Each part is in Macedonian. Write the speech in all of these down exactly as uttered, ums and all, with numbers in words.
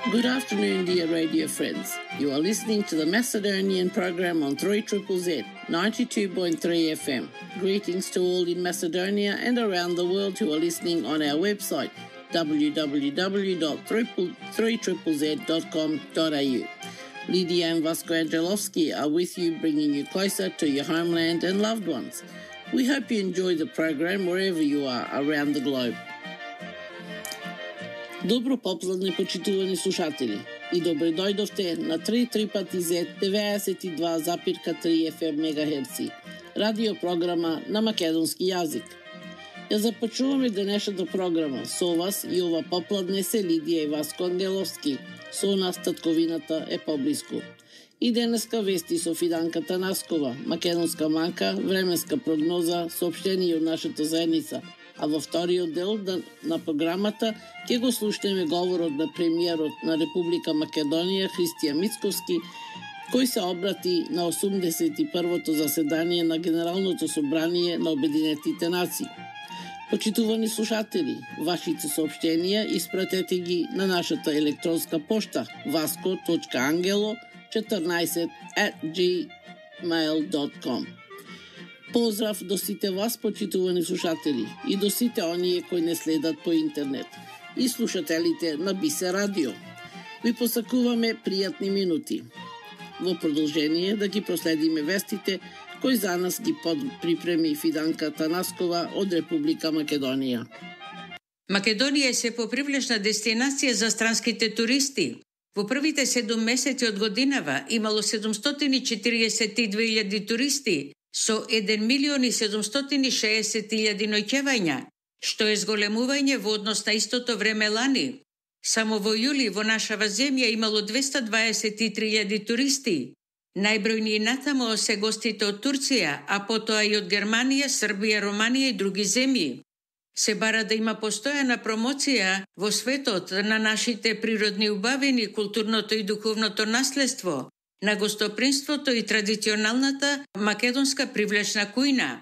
Good afternoon, dear radio friends. You are listening to the Macedonian program on three Z Z Z, ninety-two point three F M. Greetings to all in Macedonia and around the world who are listening on our website, w w w dot three z z z dot com dot a u. Lydia and Vasco Angelovski are with you, bringing you closer to your homeland and loved ones. We hope you enjoy the program wherever you are around the globe. Добро попладне, почитувани слушатели, и добре дојдовте на три пати зет деветдесет и два запирка три F M мегахерци, радио програма на македонски јазик. Ја започнуваме денешната програма со вас и ова попладне се Лидија и Васко Ангеловски, со нас татковината е поблиску. И денеска вести со Фиданка Танаскова, македонска манка, временска прогноза, соопштение од нашата заедница. А во вториот дел на програмата ќе го слушнеме говорот на премиерот на Република Македонија Христијан Мицковски, кој се обрати на осумдесет и првото заседание на Генералното собрание на Обединетите нации. Почитувани слушатели, вашите соопштенија испратете ги на нашата електронска пошта vasco точка angelo четрнаесет at gmail dot com. Поздрав до сите вас, почитувани слушатели, и до сите оние кои не следат по интернет, и слушателите на Бисе Радио. Ви посакуваме пријатни минути. Во продолжение да ги проследиме вестите кои за нас ги припреми Фиданка Танаскова од Република Македонија. Македонија е се попривлечна дестинација за странските туристи. Во првите седум месеци од годинава имало седумстотини и четириесет и две илјади туристи, со еден милион и седумстотини и шеесет илјади ноќевања, што е зголемување во однос на истото време лани. Само во јули во нашава земја имало двеста дваесет и три илјади туристи. Најбројни натамо се гостите од Турција, а потоа и од Германија, Србија, Романија и други земји. Се бара да има постојана промоција во светот на нашите природни убавини, културното и духовното наследство, на гостопримството и традиционалната македонска привлечна кујна.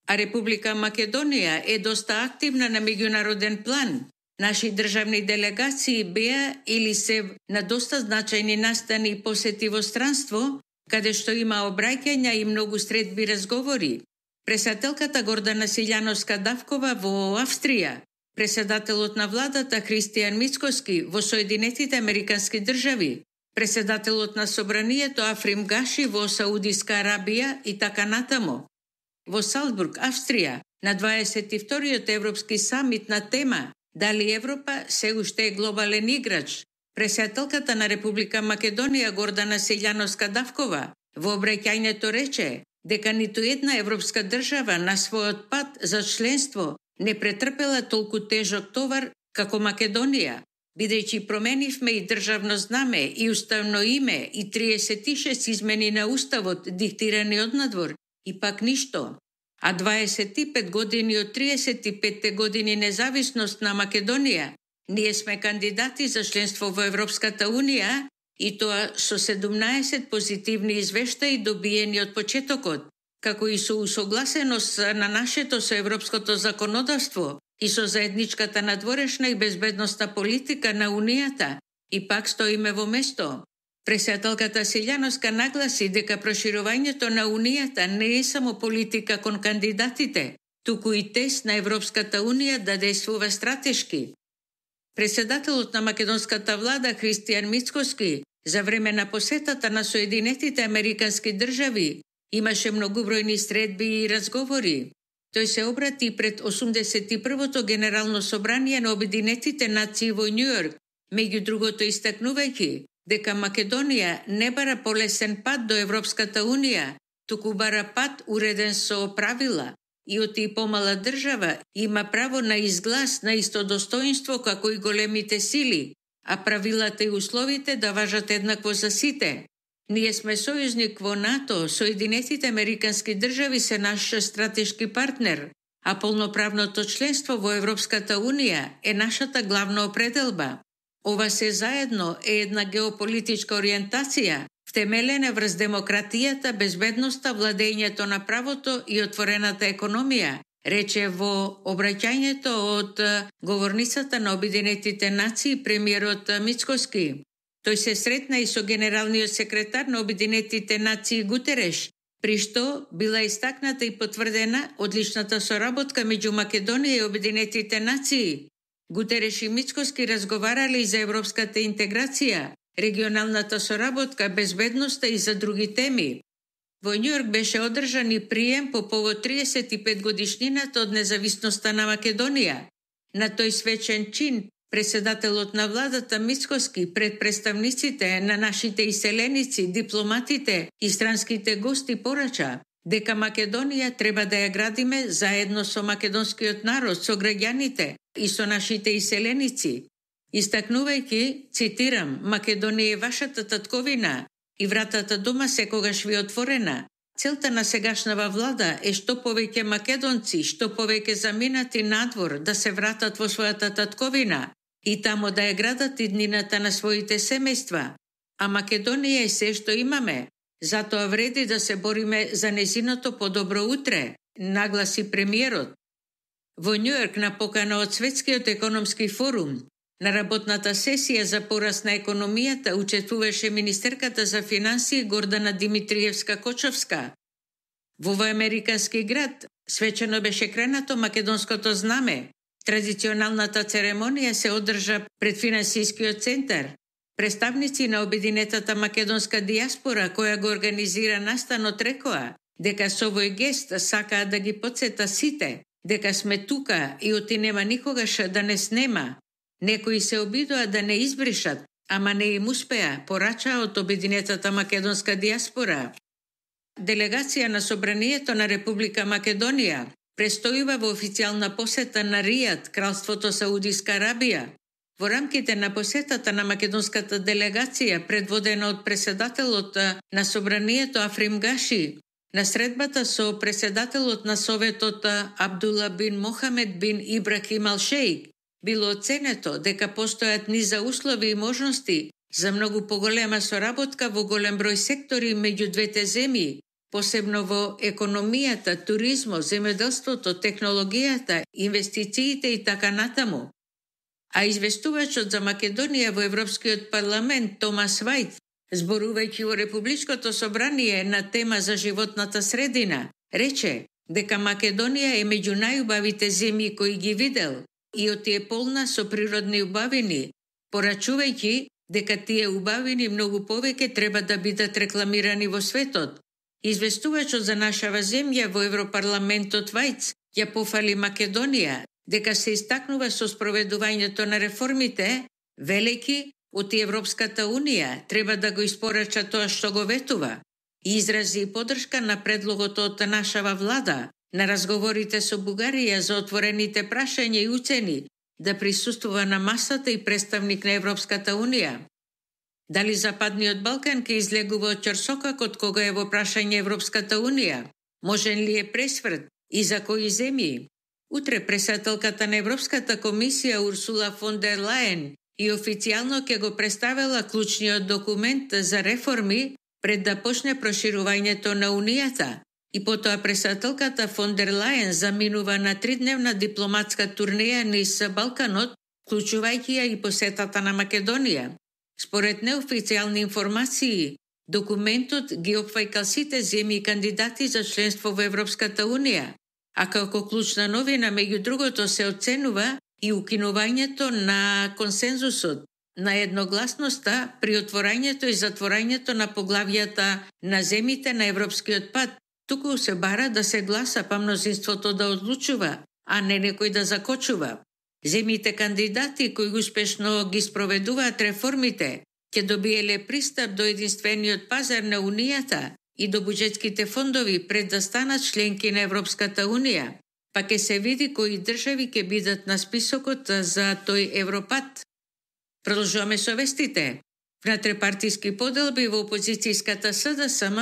А Република Македонија е доста активна на меѓународен план. Наши државни делегации беа или се на доста значајни настани и посети во странство, каде што има обраќања и многу средби разговори. Председателката Гордана Силјановска-Давкова во Австрија, председателот на владата Христијан Мицковски во Соединетите Американски држави, председателот на собранието Африм Гаши во Саудиска Арабија и така натамо. Во Салцбург, Австрија, на дваесет и вториот Европски самит на тема Дали Европа се уште е глобален играч, председателката на Република Македонија Гордана Силјановска-Давкова во обраќањето рече дека ниту една европска држава на својот пат за членство не претрпела толку тежок товар како Македонија, бидејќи променивме и државно знаме, и уставно име, и триесет и шест измени на уставот диктирани однадвор, и пак ништо. А дваесет и пет години од триесет и петте години независност на Македонија, ние сме кандидати за членство во Европската Унија, и тоа со седумнаесет позитивни извештаи добиени од почетокот, како и со усогласеност на нашето со европското законодавство и со заедничката надворешна и безбедностна политика на Унијата, и пак стоиме во место. Председателката Силјановска нагласи дека проширувањето на Унијата не е само политика кон кандидатите, туку и тест на Европската Унија да действува стратешки. Председателот на македонската влада Христијан Мицковски за време на посетата на Соединетите Американски држави имаше многубројни средби и разговори. Тој се обрати пред осумдесет и првото Генерално собрание на Обединетите нации во Њујорк, меѓу другото истакнувајќи дека Македонија не бара полесен пат до Европската Унија, туку бара пат уреден со правила, и оти помала држава има право на изглас на исто достоинство како и големите сили, а правилата и условите да важат еднакво за сите. Ние сме сојузник во НАТО, Соединетите Американски држави се наш стратешки партнер, а полноправното членство во Европската Унија е нашата главна определба. Ова се заедно е една геополитичка ориентација, втемелена врз демократијата, безбедноста, владењето на правото и отворената економија, рече во обраќањето од говорницата на Обединетите нации премиерот Мицкоски. Тој се сретна и со генералниот секретар на Обединетите нации Гутереш, при што била истакната и потврдена одличната соработка меѓу Македонија и Обединетите нации. Гутереш и Мицкоски разговарале и за европската интеграција, регионалната соработка, безбедноста и за други теми. Во Њујорк беше одржан и прием по повод триесет и пет годишнината од независноста на Македонија. На тој свечен чин, преседателот на владата Мицкоски пред представниците на нашите иселеници, дипломатите и странските гости порача дека Македонија треба да ја градиме заедно со македонскиот народ, со граѓаните и со нашите иселеници. Истакнувајќи, цитирам, Македонија е вашата татковина и вратата дома секогаш ви отворена. Целта на сегашнава влада е што повеќе македонци, што повеќе заминати надвор да се вратат во својата татковина и тамо да ја градат иднината на своите семејства. А Македонија е се што имаме. Затоа вреди да се бориме за незиното подобро утре, нагласи премиерот. Во Њујорк на покана од Светскиот економски форум, на работната сесија за пораст на економијата учествуваше министерката за финансии Гордана Димитриевска-Кочовска. Во овој американски град свечено беше кренато македонското знаме. Традиционалната церемонија се одржа пред финансискиот центар. Представници на обединетата македонска диаспора која го организира настанот рекоа дека со овој гест сакаат да ги потсета сите дека сме тука и оти нема никогаш да не снема. Некои се обидоа да не избришат, ама не им успеа, порача од обединетата македонска диаспора. Делегација на Собранието на Република Македонија престојува во официјална посета на Ријад, Кралството Саудиска Арабија. Во рамките на посетата на македонската делегација, предводена од преседателот на Собранието Африм Гаши, на средбата со преседателот на Советот Абдула бин Мохамед бин Ибрахим Ал-Шејк, било оценето дека постојат низа услови и можности за многу поголема соработка во голем број сектори меѓу двете земји, посебно во економијата, туризмот, земјоделството, технологијата, инвестициите и така натаму. А известувачот за Македонија во Европскиот парламент Томас Вајт, зборувајќи во Републичкото собрание на тема за животната средина, рече дека Македонија е меѓу најубавите земји кои ги видел и оти е полна со природни убавини, порачувајќи дека тие убавини многу повеќе треба да бидат рекламирани во светот. Известувачот за нашава земја во Европарламентот Вајц ја пофали Македонија дека се истакнува со спроведувањето на реформите, велики оти Европската Унија треба да го испорача тоа што го ветува и изрази поддршка на предлогот од нашава влада на разговорите со Бугарија за отворените прашања и уцени да присуствува на масата и представник на Европската Унија. Дали Западниот Балкан ке излегува од ќорсокакот кога е во прашање Европската Унија? Можен ли е пресврт и за кои земји? Утре председателката на Европската комисија Урсула фон дер Лајен и официјално ќе го представила клучниот документ за реформи пред да почне проширувањето на Унијата. И потоа председателката фон дер Лајен заминува на тридневна дипломатска турнеја низ Балканот, вклучувајќи ја и посетата на Македонија. Според неофицијални информации, документот ги опфаќа сите земји кандидати за членство во Европската Унија, а како клучна новина меѓу другото се оценува и укинувањето на консензусот, на едногласноста при отворањето и затворањето на поглавјата на земите на европскиот пат. Туку се бара да се гласа, па мнозинството да одлучува, а не некој да закочува. Земите кандидати кои успешно ги спроведуваат реформите ќе добиеле пристап до единствениот пазар на Унијата и до буџетските фондови пред да станат членки на Европската Унија, па ќе се види кои држави ќе бидат на списокот за тој Европат. Продолжуваме со вестите. Внатрепартиски поделби во опозицијската СДСМ,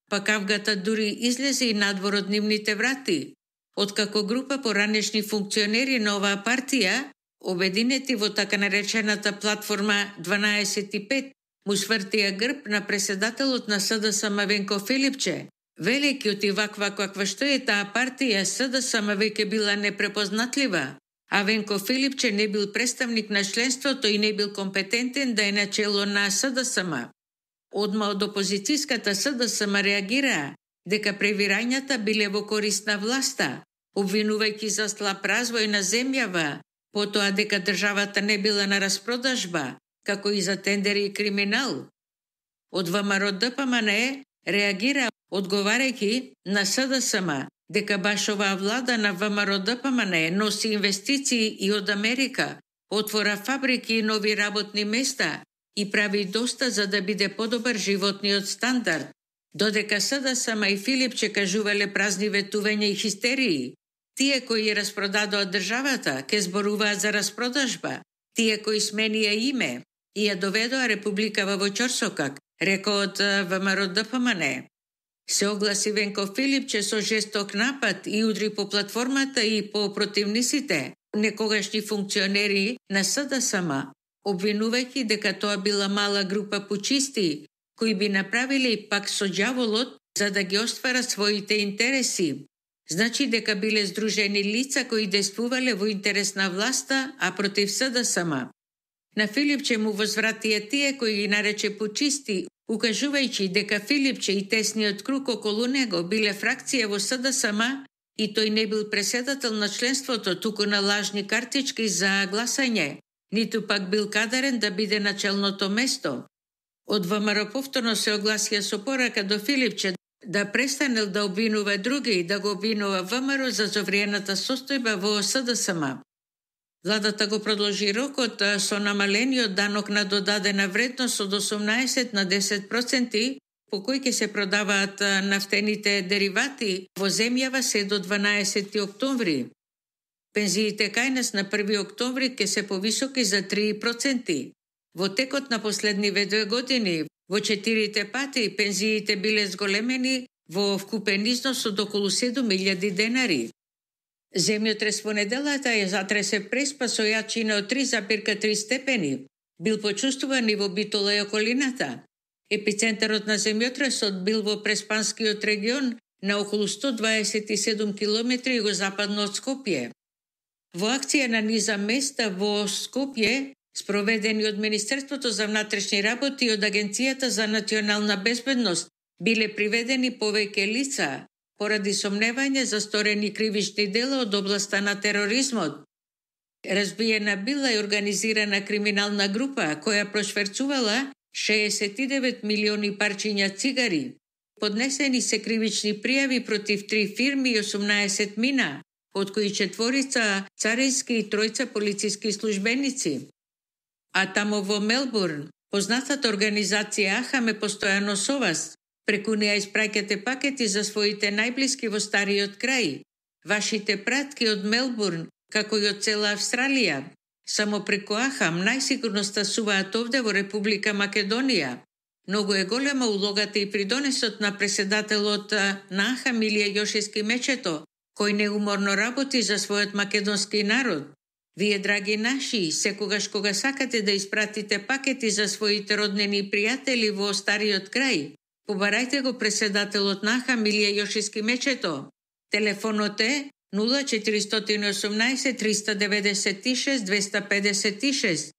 па кавгата дури излезе и надвор од нивните врати. Откако група поранешни функционери на оваа партија, обединети во така наречената платформа дванаесет и пет, му свртија грб на преседателот на СДСМ Венко Филипче, Велики ваква каква што е таа партија, СДСМ веќе била непрепознатлива, а Венко Филипче не бил представник на членството и не бил компетентен да е начело на СДСМ. Одма од опозицијската СДСМ реагираа дека превирањата биле во корист на власта, обвинувајќи за слаб развој на земјава, потоа дека државата не била на распродажба, како и за тендери и криминал. Од ВМРО Д П М Н Е реагира одговарајќи на СДСМ дека баш оваа влада на ВМРО Д П М Н Е носи инвестиции и од Америка, отвора фабрики и нови работни места и прави доста за да биде подобар животниот стандард, додека СДСМ и Филипче кажувале празни ветувања и хистерии. Тие кои распродадоа државата ке зборуваат за распродажба, тие кои сменија име и ја доведоа републикава во ќорсокак, рекоот ВМРО Д П М Н Е. Се огласи Венко Филипче со жесток напад и удри по платформата и по противниците, некогашни функционери на СДСМ, обвинувајќи дека тоа била мала група пучисти, кои би направиле пак со ѓаволот за да ги остварат своите интереси. Значи дека биле здружени лица кои действувале во интерес на власта, а против СДСМ. На Филипче му возвратија тие кои ги нарече пучисти, укажувајќи дека Филипче и тесниот круг околу него биле фракција во СДСМ и тој не бил преседател на членството, туку на лажни картички за гласање, ниту пак бил кадарен да биде на челното место. Од ВМРО повторно се огласија со порака до Филипче да престанел да обвинува други и да го обвинува ВМРО за зовриената состојба во СДСМ. Владата го продолжи рокот со намалениот данок на додадена вредност од осумнаесет на десет проценти, по кој ќе се продаваат нафтените деривати во земјава се до дванаесети октомври. Пензиите кај нас на први октомври ќе се повисоки за три проценти. Во текот на последниве две години, во четирите пати, пензиите биле зголемени во вкупен износ од околу седум илјади денари. Земјотрес во неделата ја затресе Преспа со јачина од три запирка три степени. Бил почувствуван и во Битола и околината. Епицентарот на земјотресот бил во Преспанскиот регион на околу сто дваесет и седум километри југозападно од Скопје. Во акција на низа места во Скопје, спроведени од Министерството за внатрешни работи и од Агенцијата за национална безбедност, биле приведени повеќе лица поради сомневање за сторени кривични дела од областа на тероризмот. Разбиена била и организирана криминална група која прошверцувала шеесет и девет милиони парчиња цигари. Поднесени се кривични пријави против три фирми и осумнаесет мина, од кои четворица царински и тројца полициски службеници. А тамо во Мелбурн, познатата организација Ахаме постојано со вас. Преку неа испраќате пакети за своите најблиски во стариот крај. Вашите пратки од Мелбурн, како и од цела Австралија. Само преку Ахам најсигурно стасуваат овде во Република Македонија. Многу е голема улогата и придонесот на преседателот на Ахам Илија Јошевски Мечето, кој неуморно работи за својот македонски народ. Вие, драги наши, секогаш кога сакате да испратите пакети за своите роднини и пријатели во стариот крај, побарајте го преседателот на Ахам Илија Јошевски Мечето. Телефонот е нула четиристотини и осумнаесет триста деветдесет и шест двеста педесет и шест.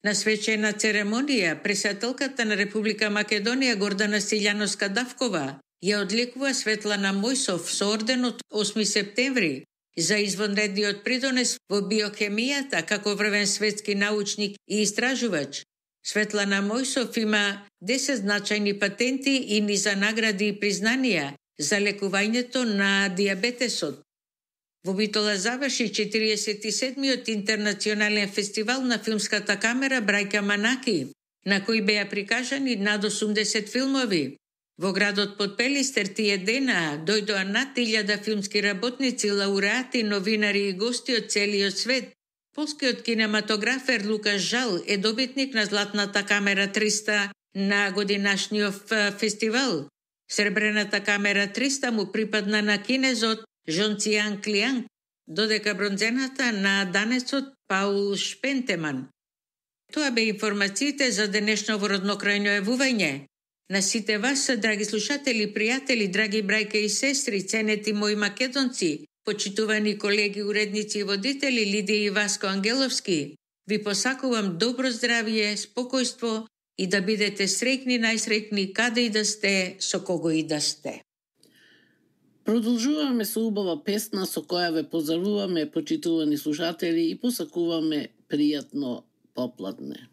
На свечена церемонија, председателката на Република Македонија Гордана Стилјановска-Давкова ја одликува Светлана Мојсов со орденот осми септември за извонредниот придонес во биохемијата како врвен светски научник и истражувач. Светлана Мојсов има десет значајни патенти и низа награди и признанија за лекувањето на дијабетесот. Во Битола заврши четириесет и седмиот интернационален фестивал на филмската камера Брајка Манаки, на кој беа прикажани над осумдесет филмови. Во градот Подпелистер тие дена дојдоа над илјада филмски работници, лауреати, новинари и гости од целиот свет. Полскиот кинематографер Лукаш Жал е добитник на Златната камера триста на годинашниот фестивал. Сребрената камера триста му припадна на кинезот Жон Цијан Клијанг, додека бронзената на данецот Паул Шпентеман. Тоа бе информациите за денешно во роднокрајно јавување. На сите вас, драги слушатели, пријатели, драги брајке и сестри, ценети мои македонци, почитувани колеги, уредници и водители Лидија и Васко Ангеловски, ви посакувам добро здравје, спокојство и да бидете среќни, најсреќни каде и да сте, со кого и да сте. Продолжуваме со убава песна со која ве поздравуваме, почитувани слушатели, и посакуваме пријатно попладне.